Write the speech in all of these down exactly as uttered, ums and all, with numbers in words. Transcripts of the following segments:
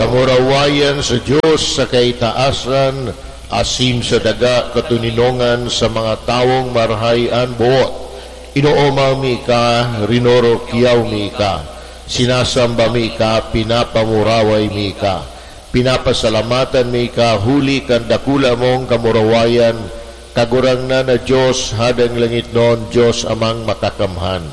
Kamurawayan sa Dios sa kaitaasan, asin sa daga katoninongan sa mga tawong marahay an boot. Inoomaw mi ka, rinorokyaw mi ka, sinasamba mi ka, pinapamuraway mi ka, pinapasalamatan mi ka huli kan dakula mong kamurawayan, Kagurangnan na Dios, Hadang langitnon, Dios Amang Makakamhan.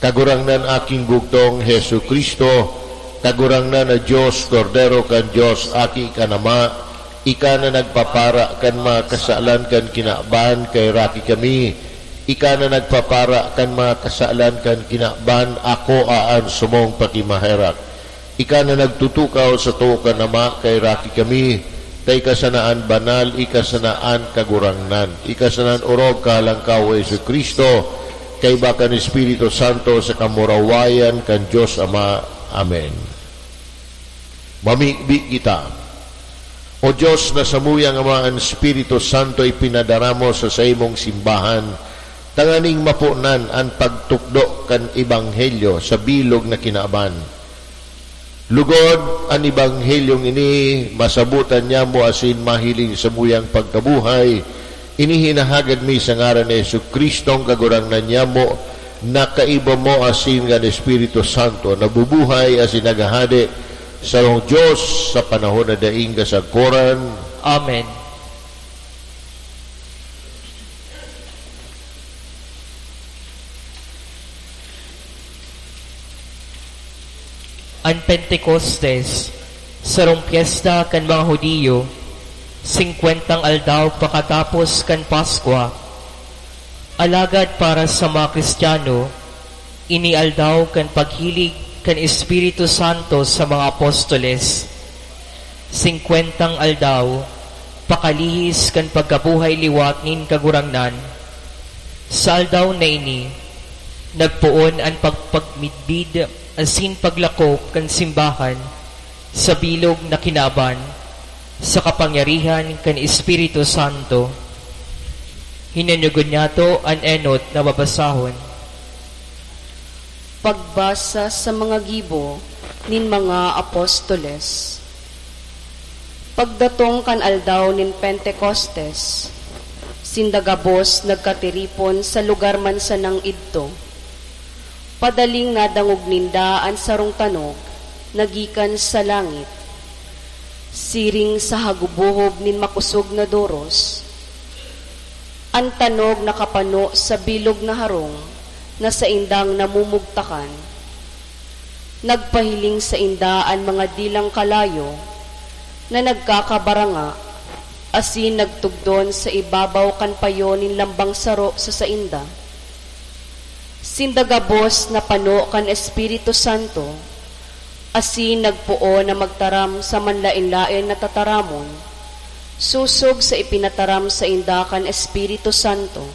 Kagurangnan, Aking Bugtong, Jesu-Cristo, Kagurangnan na Dios, Kordero kan Dios, Aki kan Ama, ika na nagpapara kan mga kasalan kan kinaban, kaheraki kami. Ika na nagpapara kan mga kasalan kan kinaban, akoa an samong pakimaherak. Ika na nagtutukaw sa too kan Ama, kaheraki kami. Ta ika sana an banal, ika sana an Kagurangnan, ika sana an orog, Kahalangkaw, o Jesu-Cristo, kaiba kan Espiritu Santo, sa kamurawayan kan Dios Ama. Amen. Mamibi kita. O Dios, na samuyang Ama, an Espiritu Santo ipinadara mo sa saimong simbahan, tanganing maponan an pagtukdo kan Ebanghelyo sa bilog na kinaban. Lugod, an Ebanghelyong ini masabotan niamo asin mahiling samuyang pagkabuhay. Ini hinahagad mi sa ngaran ni Jesu-Cristong Kagurangnan niamo, na kaiba mo asin kan Espiritu Santo, nabubuhay asin naghahade, sarong Dios, sa panahon na daing kasagkoran. Amen. An Pentecostes, sarong pyesta kan mga Judio, singkwentang aldaw pakatapos kan Paskwa. Alagad para sa mga Kristiyano, ini aldaw kan paghilig kan Espiritu Santo sa mga apostoles. Singkwentang aldaw, pakalihis kan pagkabuhay liwat nin Kagurangnan. Sa aldaw na ini, nagpoon an pagpagmidbid asin paglakop kan simbahan sa bilog na kinaban sa kapangyarihan kan Espiritu Santo. Hinanyugon niyato an enot na babasahon. Pagbasa sa mga gibo nin mga apostoles. Pagdatong kan aldaw nin Pentecostes, sinda gabos nagkatiripon sa lugar man sanang idto. Padaling nadangog ninda an sarong tanog na gikan sa langit, siring sa hagubohob nin makosog na doros. An tanog nakapano sa bilog na harong na saindang namumugtakan. Nagpahiling sainda an mga dilang kalayo na nagkakabaranga asin nagtugdon sa ibabaw kan payo nin lambang saro sa sainda. Sinda gabos napano kan Espiritu Santo, asin nagpoon na magtaram sa manlaen-laen na tataramon, sosog sa ipinataram sainda kan Espiritu Santo.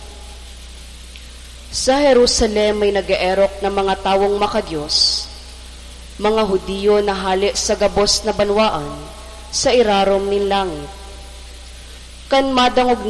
Sa Jerusalem may nag-eerok na mga tawong makadios, mga Judio na hale sa gabos na banwaan sa irarom nin langit. Kan madangog